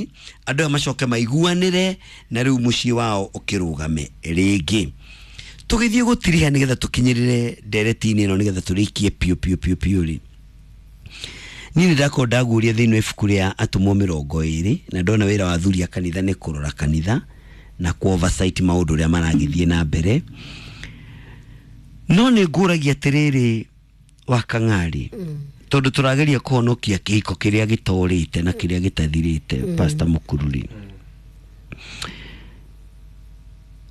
Ngai andũ aya macoke maiguanĩre na rĩu mũciĩ wao ũkĩrũgame rĩngĩ. Tũgĩthiĩ gũtiriha nĩgetha tũkinyĩrĩre ndereti-inĩ ĩno nĩgetha tũrĩkie piũ piũ piũ piũ rĩ, niĩ nĩ ndakorwo ndaguũria thĩinĩ wa ibuku rĩa Atũmwo 20 na ndona wĩra wa athuri a kanitha nĩ kũrora kanitha na kũ oversight maũndũ ũrĩa maragĩthiĩ na mbere. No nĩ ngũragia atĩrĩrĩ wa Kang'ari, tondũ tũrageria kũhonokia kĩhiko kĩrĩa gĩtorĩte na kĩrĩa gĩtathirĩte. Pastor Mũkururi,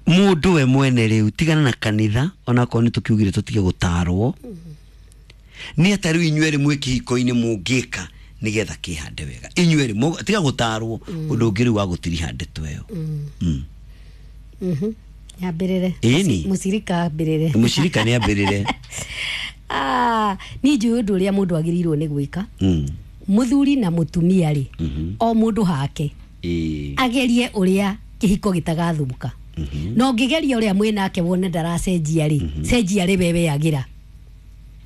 mũndũ we mwene rĩu tigana na kanitha, onakorwo nĩ tũkiugire tũtige gũtarwo, nĩ ata rĩu inyuĩ erĩ mwĩ kĩhiko-inĩ mũngĩka nĩgetha kĩhande wega? Inyuĩ erĩ tiga gũtarwo, ũndũ ũngĩ rĩu wa gũtiriha ndeto ĩyo. Nyambĩrĩre? Ĩni. Mũcirika ambĩrĩre. Mũcirika nĩ ambĩrĩre. Ah, niĩ njũĩ ũndũ ũrĩa mũndũ agĩrĩirwo nĩ gwĩka. Mũthuri na mũtumia rĩ, o mũndũ hake agerie ũrĩa kĩhiko gĩtagathũka. Na ũngĩgeria ũrĩa mwĩnake wone ndaracenjia rĩ, cenjia arĩ we, weagĩra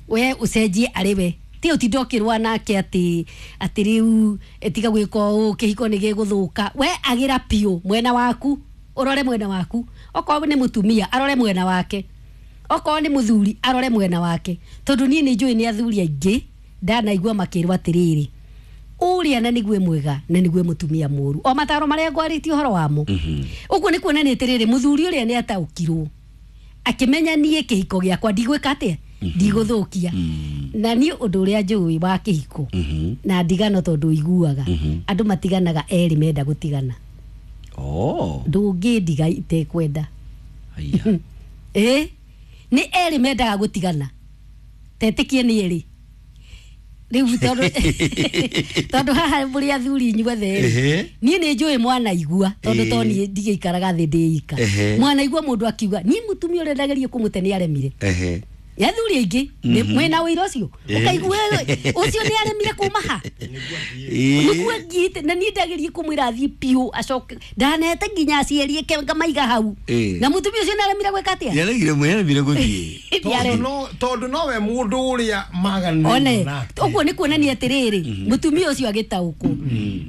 we ũcenjie arĩ we, ti ũtinda ũkĩrũa nake atĩ atĩ rĩu tiga gwĩka ũũ, kĩhiko nĩ gĩgũthũka. We agĩra piũ mwena waku, ũrore mwena waku. Okorwo nĩ mũtumia arore mwena wake, okorwo nĩ mũthuri arore mwena wake, tondũ niĩ nĩ njũĩ nĩ athuri aingĩ ndanaigua makĩrwo atĩrĩrĩ, ũrĩa na nĩgue mwega na nĩgue mũtumia mũru, o mataro marĩa ngwarĩtie ũhoro wamo. Ũguo nĩ kuonania atĩrĩrĩ, mũthuri ũrĩa nĩ ataũkirwo akĩmenya niĩ kĩhiko gĩakwa ndigwĩka atĩa, ndigũthũkia. Na niĩ ũndũ ũrĩa njũĩ wa kĩhiko na ndigano, tondũ iguaga andũ matiganaga erĩ menda gũtigana. Ndũngĩndiga itekwenda. Haya. Ĩ nĩ erĩ mendaga gũtigana, tetĩkie nĩ erĩ rĩu, tondũ haha mũrĩ athuri inyuothe rĩ, niĩ nĩ njũĩ mwanaigua, tondũ to niĩ ndigĩikaraga thĩ ndĩika. Mwanaigua mũndũ akiuga niĩ mũtumia ũrĩa ndagerie kũmũte nĩ aremire. Nĩ athuri aingĩ mwĩna ũira ũcio, ũkaigua ũcio nĩ aremire kuma ha nĩguo ngiite, na niĩ ndagerie kũmwĩra athiĩ piũ acoke, ndanete nginya aciari eke ngamaiga hau, na mũtumia ũcio nĩ aremire gwĩka atĩa? Nĩaregire gũthiĩ. Tondũ nowe mũndũ ũrĩa maganĩirwo one nake. Ũguo nĩ kuonania atĩrĩrĩ, mũtumia ũcio agĩtaũkwo.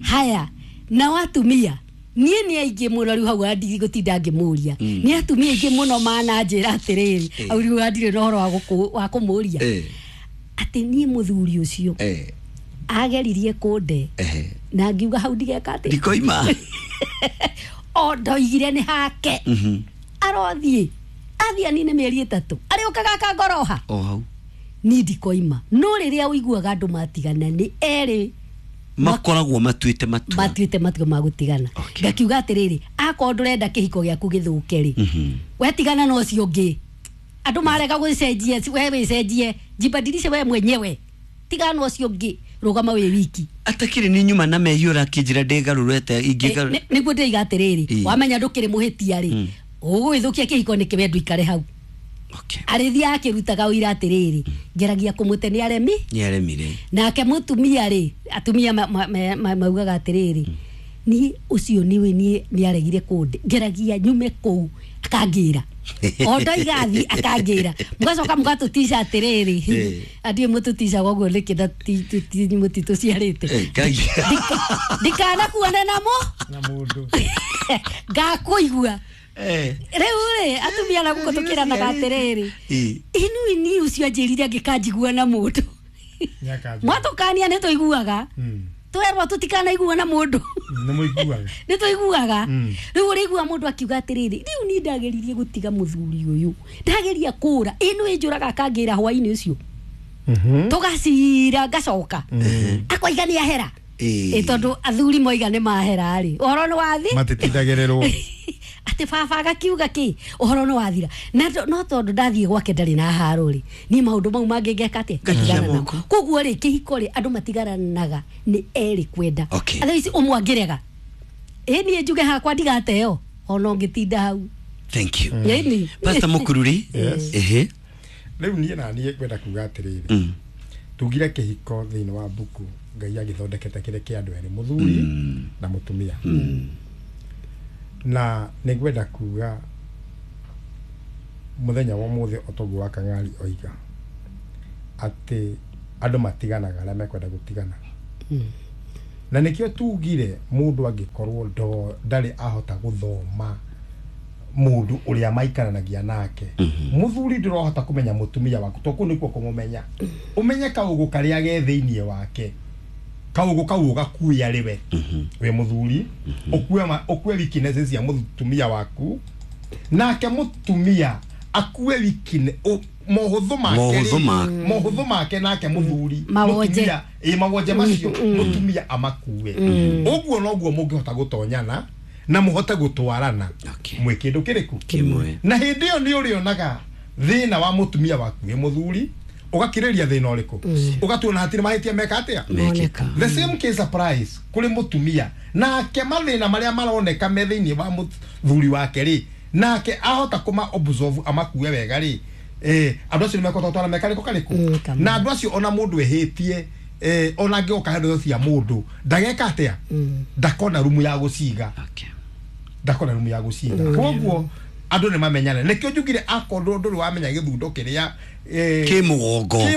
Haya, nao atumia, niĩ nĩ aingĩ mũno rĩu hau ndigũtinda ngĩmũria, nĩ atumia aingĩ mũno mananjĩra atĩrĩrĩ, hau rĩu ndirĩ na ũhoro wa kũmũria atĩ niĩ mũthuri ũcio ageririe kũnde na ngiuga hau ndigeka atĩ ndikoima. O ndoigire nĩ hake, arothiĩ athiĩ anine mĩeri 3, arĩũkaga akangoroha. O hau. Niĩ ndikoima. No rĩrĩa ũiguaga andũ matigana nĩ erĩ makoragwo matuĩte matua. Matuĩte matua ma gũtigana. Ngakiuga atĩrĩrĩ, akorwo ndũrenda kĩhiko gĩaku gĩthũke rĩ, wetigana na ũcio ũngĩ. Andũ marega gwĩcenjia, we wĩcenjie, jibadilishe we mwenyewe, tigana na ũcio ũngĩ, rũgama wĩ wiki. Atakĩrĩ nĩ nyuma na mehia ũrakĩnjĩra ndĩgarũrete ingĩgarũ. Nĩguo ndĩiga atĩrĩrĩ, wamenya ndũkĩrĩ mũhĩtia rĩ, ũgũgĩthũkia kĩhiko nĩkĩ? We ndũikare hau. Arĩthiaga akĩrutaga ũira atĩrĩrĩ, ngeragia kũmũte nĩ aremi. Nĩ aremire. Nake mũtumia rĩ, atumia maugaga atĩrĩrĩ, niĩ ũcio niwe niĩ nĩ aregire kũnde, ngeragia nyume kũu akangĩra, o ndoiga athiĩ akangĩra. Mũgacoka mũgatũtica atĩrĩrĩ, andiĩ mũtũticaga ũguo nĩkĩ na mũtitũciarĩte? Ndikanakuone namo na mũndũ. Ngakũigua. Rĩu rĩ, atumia na gũkũ tũkĩranaga atĩrĩrĩ, inui ni ũcio anjĩrire angĩkanjigua na mũndũ. Nĩakanjigua. Mwatũkania nĩ tũiguaga, twerwo tũtikanaigua na mũndũ. Nĩ mũiguaga. Nĩ tũiguaga. Rĩu ũrĩigua mũndũ akiuga atĩrĩrĩ, rĩu niĩ ndageririe gũtiga mũthuri ũyũ, ndageria kũra ĩno ĩnjũraga akangĩra hwainĩ ũcio, tũgacira, ngacoka akoiga nĩ ahera. Ĩ tondũ athuri moiga nĩ mahera rĩ, ũhoro nĩ wathi. Matitindagĩrĩrwo. Atĩ baba agakiuga kĩ ũhoro nĩ wathira. Na no tondũ ndathiĩ gwake ndarĩ na haro rĩ, niĩ maũndũ mau mangĩ ngeka atĩa? Ngatigana namo. Moko. Koguo rĩ, kĩhiko rĩ, andũ matigaranaga nĩ erĩ kwenda. Otherwise ũmwe angĩrega, ĩ niĩ njuge hakwa ndigateo ona ũngĩtinda hau. Thank you. Ĩni. Pastor Mũkururi. Yes. Rĩu niĩ na niĩ ngwenda kuga atĩrĩrĩ, tugire kĩhiko thĩinĩ wa mbuku Ngai agĩthondekete kĩrĩ kĩa andũ erĩ, mũthuri na mũtumia. Na nĩ ngwenda kuga mũthenya wa ũmũthĩ, o toguo wa Kang'ari oiga atĩ andũ matiganaga arĩa mekwenda gũtigana. Na nĩkĩo tugire mũndũ angĩkorwo ndarĩ ahota gũthoma mũndũ ũrĩa maikaranagia nake, mũthuri ndũrohota kũmenya mũtumia waku, to kũu nĩkuo kũmũmenya. Ũmenye kaũgũ karĩa ge thĩiniĩ wake, kaũgũ kau ũgakue arĩ we wĩ mũthuri, ũkue weaknesses cia mũtumia waku, nake mũtumia akue weakness mohũthũ make, mohũthũ make nake mũthuri mũtumia mawonje macio mũtumia amakue. Ũguo noguo mũngĩhota gũtonyana na mũhote gũtwarana mwĩ kĩndũ kĩrĩkũ kĩmwe. Na hĩndĩ ĩyo nĩ ũrĩonaga thĩna wa mũtumia waku wĩ mũthuri, ũgakirĩria thĩna ũrĩkũ, ũgatuona hatirĩ mahĩtia meka atĩa. The same case applies kũrĩ mũtumia, nake mathĩna marĩa maroneka me thĩinĩ wa mũthuri wake rĩ, nake ahota kũma observe amakue wega rĩ, andũ acio nĩmekũhota gũtwara mekarĩkũ karĩkũ. Na andũ acio ona mũndũ ehĩtie, ona angĩgoka handũ cia mũndũ ndageka atĩa, ndakona rumu ya gũciga, ndakona rumu ya gũciga. Koguo andũ nĩ mamenyane. Nĩkĩo njugire akorwo ndũrĩ wamenya gĩthundo kĩrĩa kĩ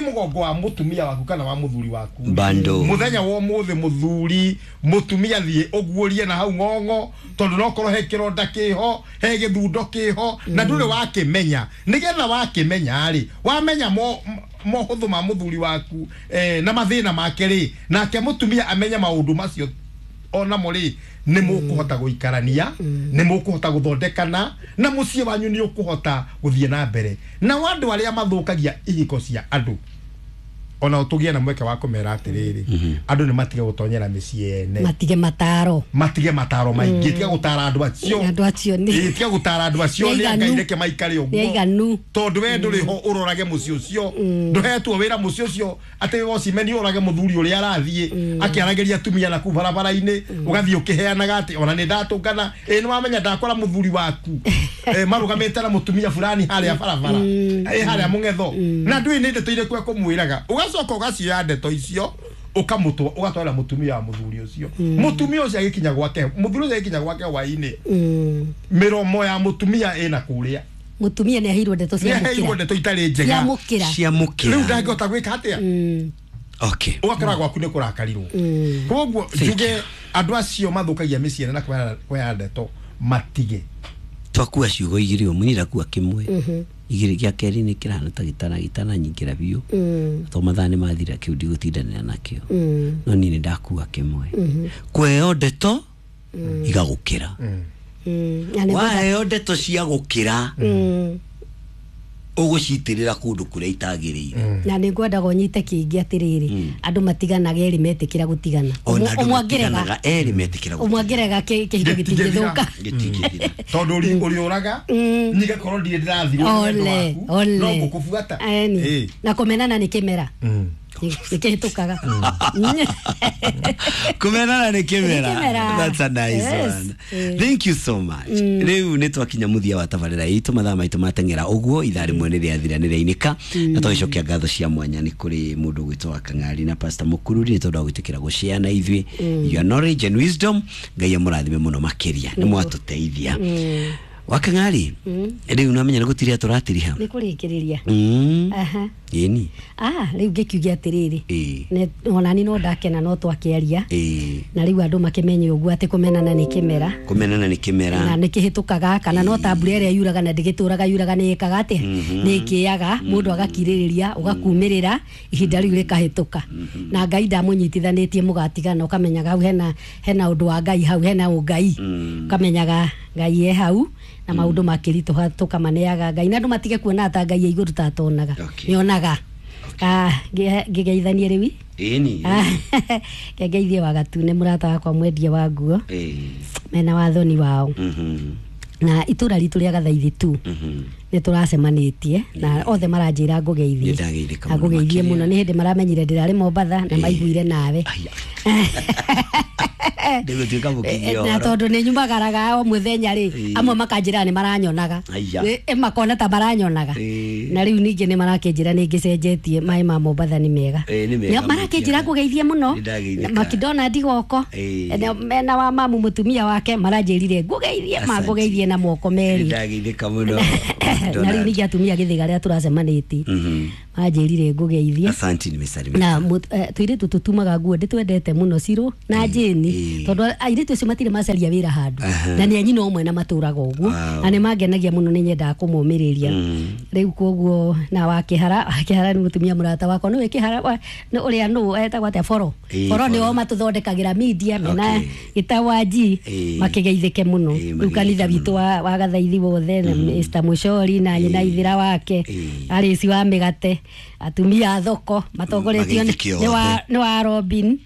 mũgongo wa mũtumia waku kana wa mũthuri waku, bando mũthenya wa ũmũthĩ mũthuri mũtumia thiĩ ũguũrie na hau ng'ong'o, tondũ no korwo he kĩronda kĩho, he gĩthundo kĩho, na ndũrĩ wakĩmenya. Nĩgetha wakĩmenya rĩ, wamenya mohũthũ ma mũthuri waku na mathĩna make rĩ, nake mũtumia amenye maũndũ macio onamo rĩ, nĩ mũkũhota gũikarania, nĩ mũkũhota gũthondekana, na mũciĩ wanyu nĩ ũkũhota gũthiĩ na mbere. Na andũ arĩa mathũkagia ihiko cia andũ, ona ũtũgĩe na mweke wa kũmera atĩrĩrĩ, andũ nĩ matige gũtonyera mĩciĩ ene, matige mataro, matige mataro maingĩ, tiga gũtara andũ acio, andũ acio nĩ tiga gũtara andũ acio, nĩ Ngai reke maikare ũguo, tondũ we ndũrĩ ho ũrorage mũciĩ ũcio, ndũhetwo wĩra mũciĩ ũcio atĩ wocimeni ũrorage mũthuri ũrĩa arathiĩ akĩaragĩria atumia na kũu barabara-inĩ, ũgathiĩ ũkĩheanaga atĩ ona nĩ ndatũngana, nĩ wamenya ndakora mũthuri waku marũgamĩte na mũtumia fulani harĩa barabara, harĩa mũng'etho, na ndũĩ nĩ ndeto irĩkũ ekũmwĩraga. Ũgacoka ũgacioya ndeto icio ũkamũtwa, ũgatwara mũtumia wa mũthuri ũcio. Mũtumia ũcio agĩkinya gwake, mũthuri ũcio agĩkinya gwake hwaĩ-inĩ, mĩromo ya mũtumia ĩna kũrĩa, mũtumia nĩ aheirwo ndeto cia mũkĩra, nĩ aheirwo ndeto itarĩ njega cia mũkĩra, rĩu ndangĩhota gwĩka atĩa. Okay, ũgakora gwaku nĩ kũrakarirwo. Koguo njuge andũ acio mathũkagia mĩciĩ na kũheana ndeto matige. Twakua ciugo igĩrĩ ũmwe, niĩ ndakua kĩmwe, igĩrĩ gĩa kerĩ nĩ kĩrahana ta gĩtana nyingĩra biũ, to mathaa nĩ mathira kĩu ndigũtindanĩra nakĩo, no niĩ nĩ ndakua kĩmwe. Kweheo ndeto igagũkĩra, waheo ndeto cia gũkĩra ũgũcitĩrĩra kũndũ kũrĩa itagĩrĩire. Na nĩ ngwendaga ũnyite kĩngĩ atĩrĩrĩ, andũ matiganaga erĩ metĩkĩra gũtigana, ũmwe angĩrega erĩ metĩkĩra gũtigana, ũmwe angĩrega kĩhiko gĩtingĩthũka, gĩtingĩthira, tondũ ũrĩũraga nyigakorwo ndirĩ ndĩrathirwo nĩ wendo waku, no ngũkũbuata. Na kũmenana nĩ kĩmera, nĩ kĩhĩtũkaga. Kũmenana nĩ kĩmera. That's a nice one. Thank you so much. Rĩu nĩ twakinya mũthia wa tabarĩra itũ, mathaa maitũ mateng'era ũguo, ithaa rĩmwe nĩ rĩathira nĩ rĩainĩka, na tũgĩcokia ngatho cia mwanya nĩ kũrĩ mũndũ ũgwĩtwo wa Kang'ari na Pastor Mũkururi nĩ tondũ wa gwĩtĩkĩra gũshare na ithuĩ your knowledge and wisdom. Ngai amũrathime mũno makĩria, nĩ mwatũteithia. Wa Kang'ari, rĩu nĩwamenya nĩ gũtiria tũratiriha, nĩ kũrĩkĩrĩria. Aha, ĩni rĩu ngĩkiuge atĩrĩrĩ, onani no ndakena no twakĩaria, na rĩu andũ makĩmenye ũguo atĩ kũmenana nĩ kĩmera, kũmenana nĩ kĩmera, na nĩ kĩhĩtũkaga, kana no ta mbura ĩrĩa yuraga na ndĩgĩtũraga yuraga nĩ ĩkaga atĩa, nĩ ĩkĩaga, mũndũ agakirĩrĩria, ũgakumĩrĩra, ihinda rĩu rĩkahĩtũka. Na Ngai ndamũnyitithanĩtie mũgatigana, ũkamenyaga hau hena ũndũ wa Ngai, hau hena ũngai, ũkamenyaga Ngai e hau, na maũndũ makĩritũha tũkamaneaga Ngai, na andũ matige kuona ta Ngai e igũrũ ta atonaga, nĩonaga. Ngĩgeithanie rĩu ĩni, ngegeithie wa Gatune mũrata wakwa mwendia wa nguo, mena wathoni wao, na itũra ritũ rĩa Gathaithi tu nĩ tũracemanĩtie na othe maranjĩra ngũgeithie, ngũgeithie mũno, nĩ hĩndĩ maramenyire ndĩrarĩ Mombatha na maiguire nawe. Na tondũ nĩ nyumagaraga o mũthenya rĩ, amwe makanjĩra nĩ maranyonaga, makona ta maranyonaga, na rĩu ningĩ nĩ marakĩnjĩra nĩ ngĩcenjetie maĩ ma Mombatha nĩ mega, marakĩnjĩra ngũgeithie mũno. Makidona ndigoko mena wa mamu mũtumia wake maranjĩrire ngũgeithie, mangũgeithie na moko merĩ. Nĩndageithĩka mũno. Na rĩu ningĩ atumia gĩthĩga rĩa tũracemanĩtie Manjĩrire ngũgeithie. Asante, nimesalimika. Na tũirĩtu tũtumaga nguo ndĩtwendete mũno Ciro na Jane, tondũ airĩtu acio matirĩ macaria wĩra handũ na nĩ a nyina ũmwe na matũraga ũguo na nĩ mangenagia mũno, nĩ nyendaga kũmomĩrĩria rĩu koguo. Na wa Kĩhara, Kĩhara nĩ mũtumia mũrata wakwa, nĩwe Kĩhara nĩ ũrĩa nũ etagwo atĩa, Boro. Boro nĩo matũthondekagĩra media mena gĩtawa G. Makĩgeithĩke mũno. Rĩu kanitha mageithĩke. Witũ wa Gathaithi wothe na Mr. Mũcori na nyina Ithira wake, Arĩci wa mĩgate, atumia a thoko matongoretio Mageithĩke othe. Nĩ wa Robin.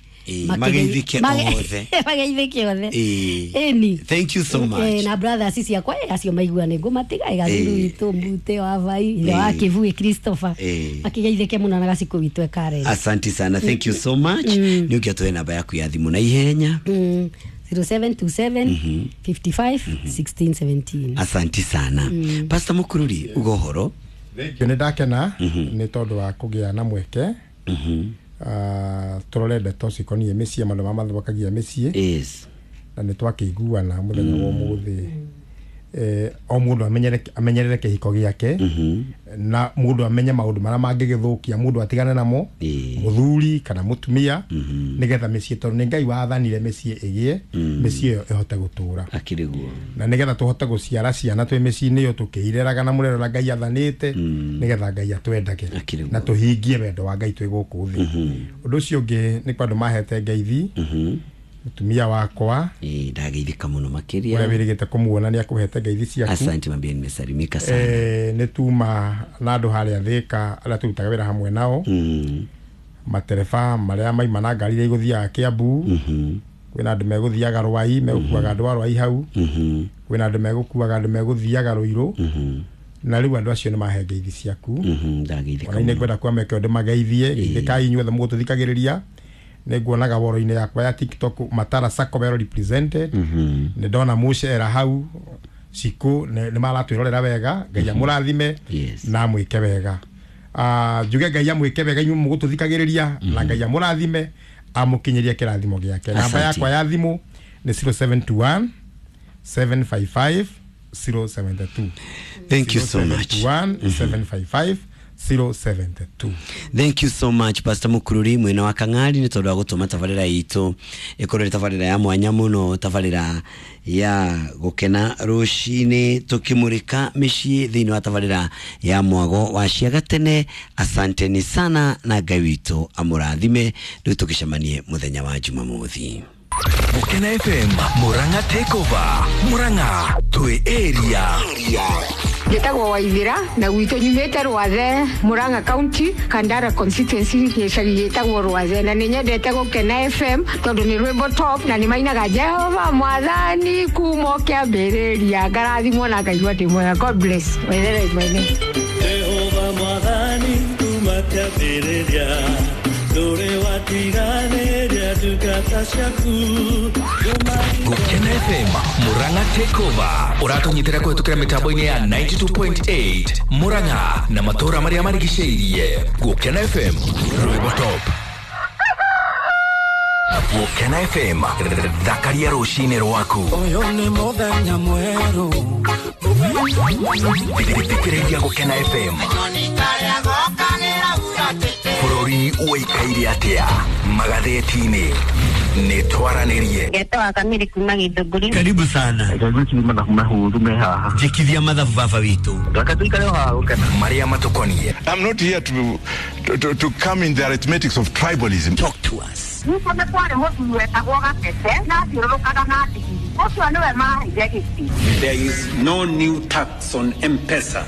Mageithĩke othe. Mageithĩke othe. Ĩni. Thank you so much. Na brothers ciakwa, acio maigua nĩ ngũmatiga gathuru witũ Mbute wa Vai, ithe wa Kĩbui Christopher, makĩgeithĩke mũno na gacikũ witũ e Karen. Asante sana, thank you so much. Nĩ ũngĩatũhe namba yaku ya thimũ na ihenya. 0727 55 16 17. Asante sana. Pastor Mukururi, uga ũhoro. Nĩ ndakena nĩ tondũ wa kũgĩa na mweke tũrore ndeto cikoniĩ mĩciĩ, maũndũ marĩa mathũkagia mĩciĩ. Na nĩ twakĩiguana mũthenya wa ũmũthĩ, o mũndũ amenyerere kĩhiko gĩake na mũndũ amenye maũndũ marĩa mangĩgĩthũkia, mũndũ atigane namo, mũthuri kana mũtumia, nĩgetha mĩciĩ, tondũ nĩ Ngai wathanire mĩciĩ ĩgĩe, mĩciĩ ĩyo ĩhote gũtũra. Akĩrĩ guo. Na nĩgetha tũhote gũciara ciana twĩ mĩciĩ-inĩ ĩyo tũkĩireraga na mũrero ũrĩa Ngai athanĩte, nĩgetha Ngai atwendage Akĩrĩ guo. Na tũhingie wendo wa Ngai twĩ gũkũ thĩ. Ũndũ ũcio ũngĩ nĩ kwa andũ mahete ngeithi, mũtumia wakwa Ndageithĩka mũno ũrĩa makĩria. Wĩrĩgĩte kũmuona nĩ akũhete ngeithi ciaku. Asante, mambia nimesalimika sana. Nĩ tuma na andũ harĩa Thĩka arĩa tũrutaga wĩra hamwe nao, matereba marĩa maima na ngari iria igũthiaga Kĩambu, kwĩna andũ megũthiaga Rwai, megũkuaga andũ a Rwai hau, kwĩna andũ megũkuaga andũ megũthiaga Rũirũ, na rĩu andũ acio nĩ mahe ngeithi ciaku. Ndageithĩka Ona nĩ mũno. ngwenda kwa meke ũndũ mageithie geithĩkai inyuothe mũgũtũthikagĩrĩria. Nĩ nguonaga woro-inĩ yakwa ya TikTok Matara Sacco well represented. Nĩ ndona mũcera hau cikũ nĩ maratwĩrorera wega. Ngai amũrathime na amwĩke wega. Ah, njuge Ngai amwĩke wega inyuĩ mũgũtũthikagĩrĩria, na Ngai amũrathime, amũkinyĩrie kĩrathimo gĩake. Namba Asante. yakwa ya thimũ nĩ 0721 755 072. Thank you so much. 0721 755 072. Thank you so much, Pastor Mukururi mwena wa Kang'ari, nĩ tondũ wa gũtũma tabarĩra itũ ĩkorwo ĩrĩ tabarĩra ya mwanya mũno, tabarĩra ya gũkena rũcinĩ, tũkĩmũrĩka mĩciĩ thĩinĩ wa tabarĩra ya Mwago wa Ciagatene. Asanteni sana na Ngai witũ amũrathime. Rĩu tũgĩcemanie mũthenya wa Jumamothi. Gukena FM Murang'a Takeover. Murang'a twi area. Njĩtagwo Waithĩra na gwitũ nyumĩte Rwathe, Murang'a County, Kandara constituency, gĩcagi gĩtagwo Rwathe, na nĩ nyendete Gũkena FM tondũ nĩ rwĩmbo top na nĩ mainaga Jehova Mwathani kuma o kĩambĩrĩria, ngarathimwo na ngaigua ndĩ mwega. God bless. Waithĩra imwene. Jehova Mwathani kuma kĩambĩrĩria ndũrĩ watiganĩria ndungata ciaku. Gukena FM Murang'a Takeover ũratũnyitĩra kũhetũkĩra mĩtambo-inĩ ya 92.8 Murang'a na matũũra marĩa marigicĩirie. Gukena FM, rwĩmbo top. Gukena FM, thakaria rũcinĩ rwaku. Ũyũ nĩ mũthenya mwerũ. Thikĩrĩria Gukena FM. Bũrũri ũikaire atĩa magathĩti-inĩ? Nĩ twaranĩrie. Ngetwa Kamiri kuma Githũngũri. Karibu sana. Gwĩciria mathabu mahũthũ me haha. Njĩkithia mathabu baba witũ. Reke tũikare o haha gũkena. Marĩa matũkoniĩ. I'm not here to come in the arithmetics of tribalism. Talk to us. Gwitũ nĩ kwarĩ mũthuri wetagwo Gatete na athiũrũrũkaga na ndigiri. Ũcio nĩwe maheire gĩtĩ. There is no new tax on M-Pesa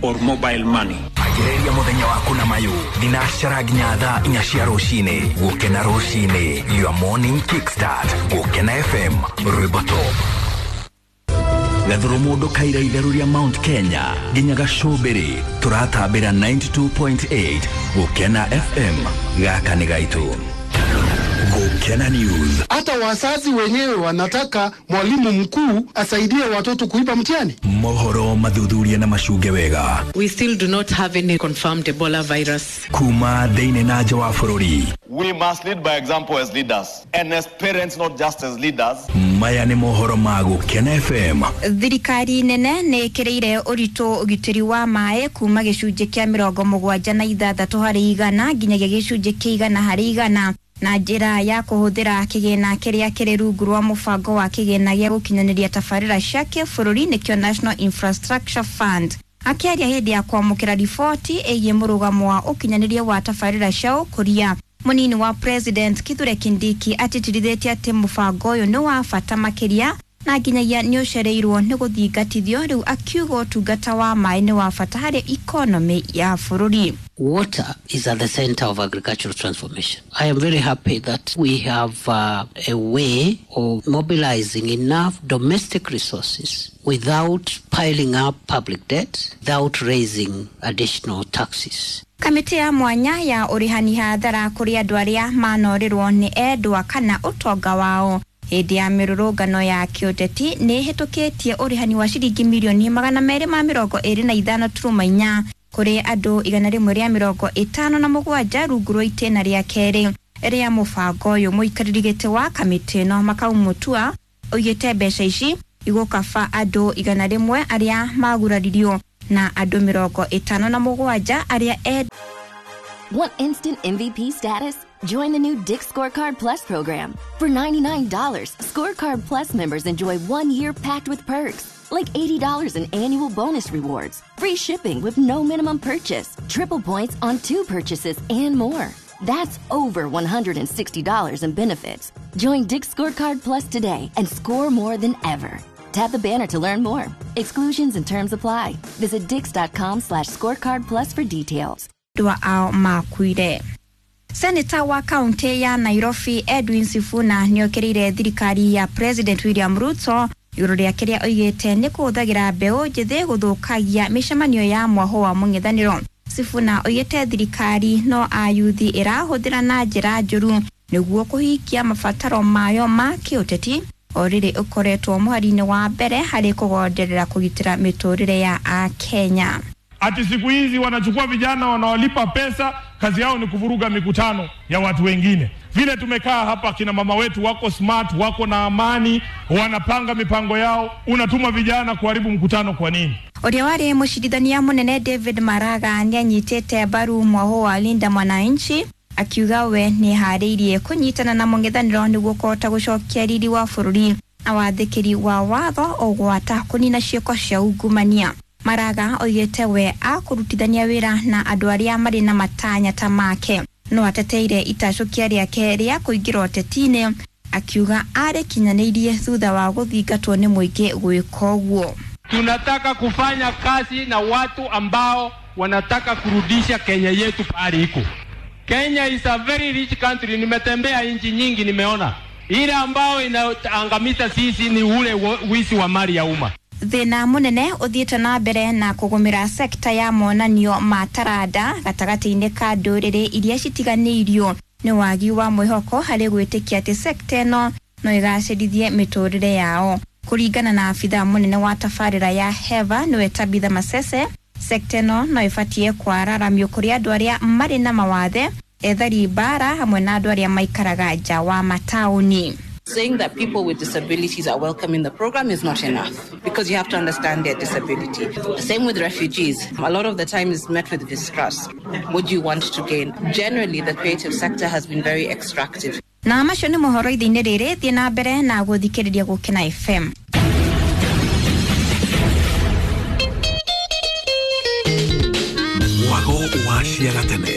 or mobile money. Anjĩrĩria mũthenya waku na mayũ thinacara nginya thaa 4 cia rũcinĩ. Gũkena rũcinĩ, your morning kickstart. Gũkena FM, rwĩmbo top. Gathuru mũndũ kaira itherũ rĩa Mount Kenya nginya gacũmbĩrĩ, tũratambĩra 92.8 Gũkena FM. Gaka nĩ gaitũ. Gũkena. Gukena News. Hata wazazi wenyewe wanataka mwalimu mkuu asaidie watoto kuiba mtihani. Mohoro mathuthuria na macunge wega. We still do not have any confirmed Ebola virus. Kuma thĩinĩ na nja wa bũrũri. We must lead by example as leaders and as parents, not just as leaders. Maya nĩ mohoro ma Gukena FM. Thirikari nene nĩ ĩkĩrĩire ũritũ ũgitĩri wa maĩ kuma gĩcunjĩ kĩa 76% nginyagia gĩcunjĩ kĩa 100% na njĩra ya kũhũthĩra kĩgĩna kĩrĩa kĩrĩ rungu rwa mũbango wa kĩgĩna gĩa gũkinyanĩria tabarĩra cia kĩbũrũri nĩkĩo National Infrastructure Fund. Akĩaria hĩndĩ ya kwamũkĩra riboti ĩgiĩ mũrũgamo wa ũkinyanĩria wa tabarĩra cia ũkũria, mũnini wa President Kithure Kindiki atĩtĩrithĩtie atĩ mũbango ũyũ nĩ wa bata makĩria na nginyagia nĩ ũcereirwo nĩ gũthingatithio rĩu, akiuga ũtungata wa maĩ nĩ wa bata harĩ ikonomĩ ya bũrũri. Water is at the center of agricultural transformation. I am very happy that we have a way of mobilizing enough domestic resources without piling up public debt, without raising additional taxes. Kamĩtĩ ya mwanya ya ũrĩhani hathara kũrĩ andũ arĩa manorirwo nĩ endwa kana ũtonga wao hĩndĩ ya mĩrũrũngano ya kĩũteti nĩ ĩhĩtũkĩtie ũrĩhani wa ciringi mirioni 225.4 kũrĩ andũ 157 rungu rwa itĩna rĩa kerĩ rĩa mũbango ũyũ. Mũikarĩri gĩtĩ wa kamĩtĩ ĩno Makau Mutua oigĩte mbeca ici igũkaba andũ 100 arĩa maguraririo na andũ 57 arĩa endwa. Want instant MVP status? Join the new Dick's Scorecard Plus program. For $99, Scorecard Plus members enjoy 1 year packed with perks, like $80 in annual bonus rewards, free shipping with no minimum purchase, triple points on 2 purchases, and more. That's over $160 in benefits. Join Dick's Scorecard Plus today and score more than ever. Tap the banner to learn more. Exclusions and terms apply. Visit dicks.com/scorecard plus for details. Ao makuire. Senator wa kaunti ya Nairobi Edwin Sifuna nĩokĩrĩire thirikari ya President William Ruto igũrũ rĩa kĩrĩa oigĩte nĩ kũhũthagĩra mbeũ njĩthĩ gũthũkagia mĩcemanio ya mwaho wa mũng'ethanĩro. Sifuna oigĩte thirikari no ayuthi ĩrahũthĩra na njĩra njũru nĩguo kũhingia mabataro mayo ma kĩũteti, o rĩrĩ ũkoretwo mũhari-inĩ wa mbere harĩ kũgonderera kũgitĩra mĩtũrĩre ya Akenya. Ati siku hizi wanachukua vijana wanawalipa pesa, kazi yao ni kuvuruga mikutano ya watu wengine. Vile tumekaa hapa, kina mama wetu wako smart, wako na amani, wanapanga mipango yao, unatuma vijana kuharibu mkutano kwa nini? Ũrĩa warĩ mũcirithania mũnene David Maraga nĩanyitĩte mbaru mwaho wa Linda Mwananchi akiuga we nĩharĩirie kũnyitana na mũng'ethanĩro nĩguo kũhota gũcokia riri wa bũrũri na wathĩkĩri wa watho ũgwata kũnina ciĩko cia ungumania. Maraga oigĩte we akũrutithania wĩra na andũ arĩa marĩ na matanya ta make, no ateteire itacũkia rĩake rĩa kũingĩra ũteti-inĩ akiuga arĩkinyanĩirie thutha wa gũthingatwo nĩ mũingĩ gwĩka ũguo. Tunataka kufanya kazi na watu ambao wanataka kurudisha Kenya yetu pahali iko. Kenya is a very rich country. Nimetembea nchi nyingi, nimeona ile ambao inaangamiza sisi ni ule wizi wa mali ya umma. Thĩna mũnene ũthiĩte na mbere na kũgũmĩra sekta ya monanio ma taranda gatagatĩ-inĩ ka ndũrĩrĩ iria citiganĩirio nĩ wagi wa mwĩhoko harĩ gwĩtĩkia atĩ sekta ĩno no ĩgacĩrithie mĩtũrĩre yao. Kũringana na abithaa mũnene wa tabarĩra ya HEVA nĩwe Tabitha Masese, sekta ĩno no ĩbatiĩ kwararamio kũrĩ andũ arĩa marĩ na mawathe, ethari mbara hamwe na andũ arĩa maikaraga nja wa mataũni. Saying that people with disabilities are welcome in the program is not enough, because you have to understand their disability. Same with refugees. A lot of the time is met with distrust. What do you want to gain? Generally, the creative sector has been very extractive. Na macio nĩ mohoro ithe-inĩ rĩrĩ, thiĩ na mbere na gũthikĩrĩria Gũkena FM. Mwago wa ciagatene.